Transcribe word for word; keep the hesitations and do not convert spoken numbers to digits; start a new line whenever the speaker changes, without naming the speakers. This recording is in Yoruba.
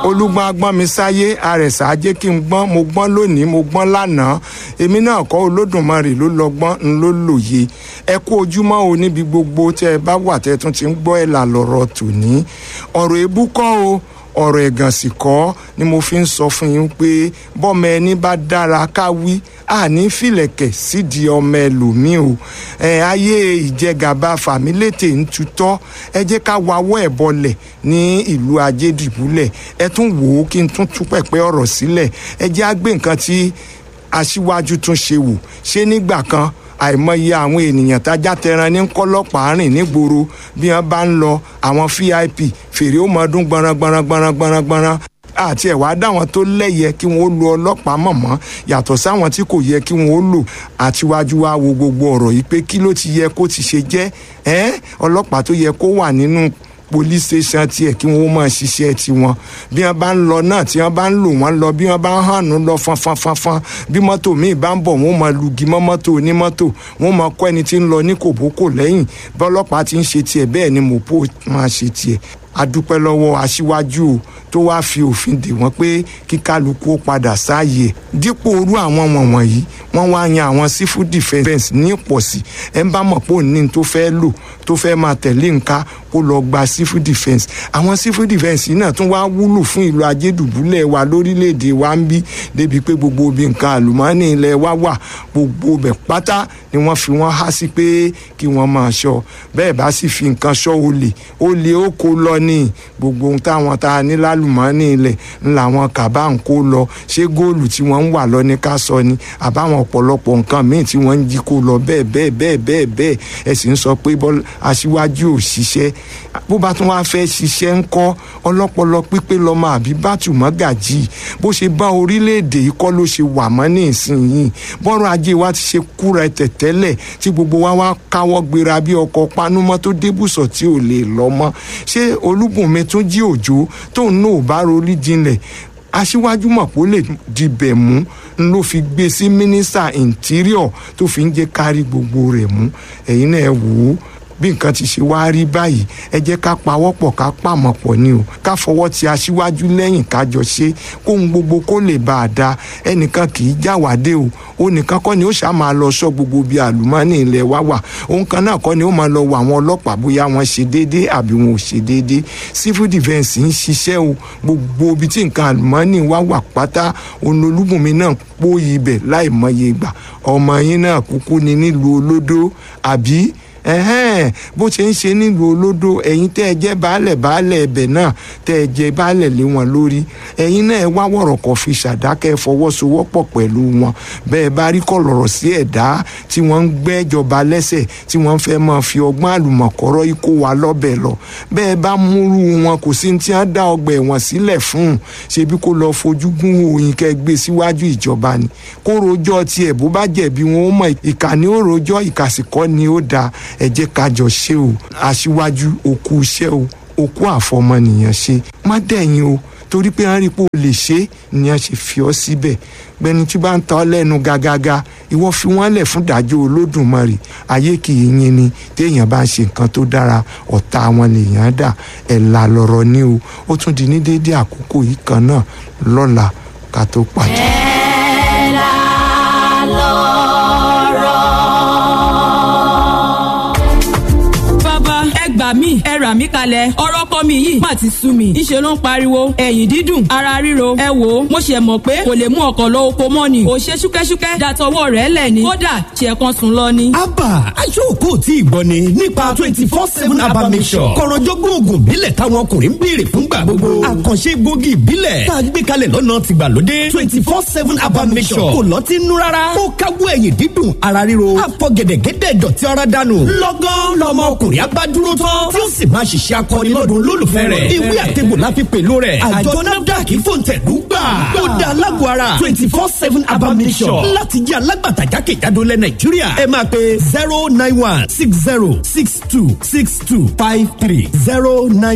Olúgbọ́n agbọ́n mi sáyé, àrẹ̀sà ajé kí n gbọ́n, mo gbọ́n lónìí, mo gbọ́n lánàá. Èmi náà kọ́, Olódùmarè ló lọ́gbọ́n ń ló lòye. Ẹ kú ojúmọ́ o níbi gbogbo tẹ́ ẹ bá wà tẹ́ ẹ tún ti ń gbọ́ Ẹ̀là Lọ̀rọ̀ tòní. Ọ̀rọ̀ èébú kọ́ o, ọ̀rọ̀ ẹ̀gàn sì kọ́ ni mo fi ń sọ fún yín pé bọ́mọ ẹni bá dára ká wí, àní fìlẹ̀kẹ̀ sídìí ọmọ ẹlòmíì o. Ẹ ayé ìjẹgàba fàmílétè ń tutọ́, ẹ jẹ́ ká wawọ́ ẹ̀ bọlẹ̀ ní ìlú Ajédìbúlẹ̀. Ẹ tún wò ó kí n tún tú pẹ̀pẹ́ ọ̀rọ̀ sílẹ̀. Ẹ jẹ́ á gbé nǹkan tí aṣíwájú tún ṣe wò ṣé nígbà kan. Àìmọye àwọn ènìyàn tájá tẹran ní kọlọ́pàá rìn nígboro bí wọ́n bá ń lọ, àwọn V I P fèrè ó mọ ọdún gbọ̀nràn gbọ̀nràn gbọ̀nràn gbọ̀nràn gbọ̀nràn àti ẹ̀wá dáwọn tó lẹ́yẹ kí wọ́n ó lo ọlọ́pàá mọ̀mọ́ yàtọ̀ sáwọn tí kò yẹ kí wọ́n ó lò. Àtiwájú wa wo gbogbo ọ̀rọ̀ yìí pé kí ló ti yẹ kó ti ṣe jẹ́ ẹ́ ọlọ́pàá tó yẹ kó wà nínú police station tiẹ̀ kí wọ́n máa ṣiṣẹ́ tiwọn, bí wọ́n bá ń lọ náà, tí wọ́n bá ń lò wọ́n lọ, bí wọ́n bá ń hànú lọ fanfanfanfan, bí mọ́tò míì bá ń bọ̀, wọ́n máa lugi mọ́ mọ́tò onímọ́tò, wọ́n máa kọ́ ẹni tí ń lọ ní kòbókò lẹ́yìn. Bọ́lọ́pàá ti ń ṣe tiẹ̀, bẹ́ẹ̀ ni mọ̀pó máa ṣe tiẹ̀. Adúpẹ́ lọ́wọ́ aṣíwájú o tó wáá fi òfin dè wọ́n pé kí kálukú ó padà sáàyè. Dípò orú àwọn wọ̀nwọ̀nyí, wọ́n wá yan àwọn civil defence ní pọ̀sí. Ẹ̀ ń bá mọ̀ pé òní tó fẹ́ lò tó fẹ́ máa tẹ̀lé nǹka, kó lọ gba civil defence. Àwọn civil defence náà tún wá wúlò fún ìlú Ajédùbúlẹ̀ wa lórílẹ̀‐èdè wa ń bí, débi pé gbogbo ibi nǹkan àlùmọ́ọ́nì ilẹ̀ wa wà, gbogbo bẹ̀ pátá ni wọ́n fi wọ́n há sí pé kí wọ́n máa ṣọ́. Bẹ́ẹ̀ bá sì fi nǹkan ṣọ́ olè, olè ó kó lọ ní gbogbo ohun táwọn tá a ní lálùmọ́ọ́nì ilẹ̀ ńlá wọn kàbá ń kó lọ. Ṣé góòlù tí wọ́n ń wà lọ ní ká sọ ni, àbáwọn ọ̀pọ̀lọpọ̀ nǹkan míì tí wọ́n ń jí kó lọ, bẹ́ẹ̀ bẹ́ẹ̀ bẹ́ẹ̀ bẹ́ẹ̀ bẹ́ẹ̀. Ẹ sì ń sọ pé aṣíwájú ò ṣiṣẹ́. Bó bá tún wáá fẹ́ ṣiṣẹ́ ń kọ́, ọlọ́pọlọ pípé lọ́mọ àbí bátùmọ́gàjì. Bó ṣe bá orílẹ̀-èdè yìí kọ́ ló ṣe wà mọ́ ní ìsinyìí. Bọ́rọ̀ ajé wa ti ṣe kúra ẹ̀tẹ̀ tẹ́lẹ̀ tí gbogbo wa wá káwọ́ gbéra bí ọkọ̀ panúmọ́ tó débùsọ̀ tí ò lè lọ mọ́. Ṣé Olúbùnmi tún jí òjò tóun náà ò bá rorí jinlẹ̀? Aṣíwájú mọ̀ pé ó lè dibẹ̀ mú ló fi gbé sí mínísítà interior tó fi ń jẹ́ kárí gbogbo rẹ̀ mú. Ẹ̀yin náà ẹ wò ó bí nǹkan ti ṣe wá rí báyìí. Ẹ jẹ́ ká pawọ́pọ̀, ká pàmọ̀pọ̀ ni o, ká fọwọ́ ti aṣíwájú lẹ́yìn, ká jọ ṣe kóhun gbogbo kó lè bá a da. Ẹnìkan kì í jáwádé o. Ó nìkan kọ́ ni ó ṣáà máa lọ sọ gbogbo bíi àlùmọ́ọ́nì ilẹ̀ wa wà. Òun kan náà kọ́ ni ó máa lọ wọ àwọn ọlọ́pàá bóyá wọ́n ṣe déédéé àbí wọn ò ṣe déédéé. Civil defence ń ṣiṣẹ́ o. Gbogbo ibi tí nǹkan àlùmọ́ọ́nì wa wà pátá, Olúbùnmi náà pòyì ibẹ̀ láì mọye ìgbà. Ọmọ yín náà kúkú ni nílùú Olódó, àbí ẹhẹ́n? Bó ṣe ń ṣe nílùú Olódò, ẹ̀yin tẹ́ ẹ jẹ́ baálẹ̀ baálẹ̀ ẹbẹ̀ náà, tẹ́ ẹ jẹ́ baálẹ̀ lé wọn lórí, ẹ̀yin náà ẹ wá wọ̀rọ̀kọ̀ fi ṣàdákẹ́, fọwọ́sowọ́pọ̀ pẹ̀lú wọn. Bẹ́ẹ̀ bá rí kọ̀lọ̀rọ̀ sí ẹ̀dá tí wọ́n ń gbẹ́jọba lẹ́sẹ̀, tí wọ́n fẹ́ máa fi ọgbọ́n àlùmọ̀kọ́rọ́ ikó wa lọ́bẹ̀ lọ, bẹ́ẹ̀ bá múrú wọn, kò sí tí wọ́n dá ọgbà ẹ̀wọ̀n sílẹ̀ fún un. Ṣebí kó lọ fojú gún òyìn, kẹ́ gbé síwájú ìjọba ni, kó rojọ́ tiẹ̀. Bó bá jẹ̀bi, wọn ó mọ̀. Ìkà ni ó rojọ́, ìkàsìkọ́ ni ó dáa. Ẹ jẹ́ ká jọ ṣe o. Aṣíwájú, òkú iṣẹ́ o, òkú àfọmọnìyàn ṣe. Má dẹ̀yìn o, torí pé wọ́n rí pé o lè ṣe é ni wọ́n ṣe fi ọ́ síbẹ̀. Gbẹni tí bá ń ta ọ́ lẹ́nu gàgàgà, ìwọ fi wọ́n lẹ̀ fún ìdájọ́ Olódùmarè. Ayé kì í yin ni. Téèyàn bá ń ṣe nǹkan tó dára, ọ̀tá wọn lèèyàn dà. Ẹ̀là lọ̀rọ̀ ni o. Ó tún di ní déédéé àkókò yìí kan náà lọ́la ká tó pàdé.
Ẹ̀là lọ̀rọ̀.
Bàbá, ẹ gbà mí, ẹ rà mí kalẹ̀. Ọ̀rọ̀ ọkọ mi yìí má ti sú mi. Ńṣe ló ń pariwo ẹ̀yìn dídùn, ara ríro. Ẹ wò ó, mo ṣe mọ̀ pé kò lè mú ọkọ̀ lọ oko mọ́ ni kò ṣe ṣúkẹ́ṣúkẹ́ dàtọwọ́ rẹ̀ lẹ̀ ni kódà ṣe kan sùn lọ ni.
Abba aṣọ́ọ̀kọ́ tí ìgbọ́ ni nípa twenty four seven Abba Mixture, kọ̀rọ̀jọ́gbọ́n oògùn ìbílẹ̀ táwọn ọkùnrin ń béèrè fúngbà gbogbo, àkànṣe egbògi ìbílẹ̀ tá a gbé kalẹ̀ lọ́nà tìgbàlódé. Twenty four seven Abba Mixture kò lọ́tí nú rárá. Ó káwọ́ ẹ̀yìn dídùn, ara ríro, àfọ̀gẹ̀dẹ̀gẹ̀dẹ̀ dọ̀tí ara dànù lọ́gán. Lọ́mọ ọkùnrin abá dúró tán tí ó sì máa ṣiṣẹ́ akọni lọ́dún olólùfẹ́ rẹ̀. Ìwé àtẹ̀gbò la fi pèlú rẹ̀. Àjọ NAFDAC fòǹtẹ̀lú gbà. Ó da alágọ̀ ara twenty four seven Abba Mixture láti jẹ́ alágbàtà jákèjádò lẹ̀ Nàìjíríà. Ẹ máa pe zero nine one six zero six two six two five three zero nine.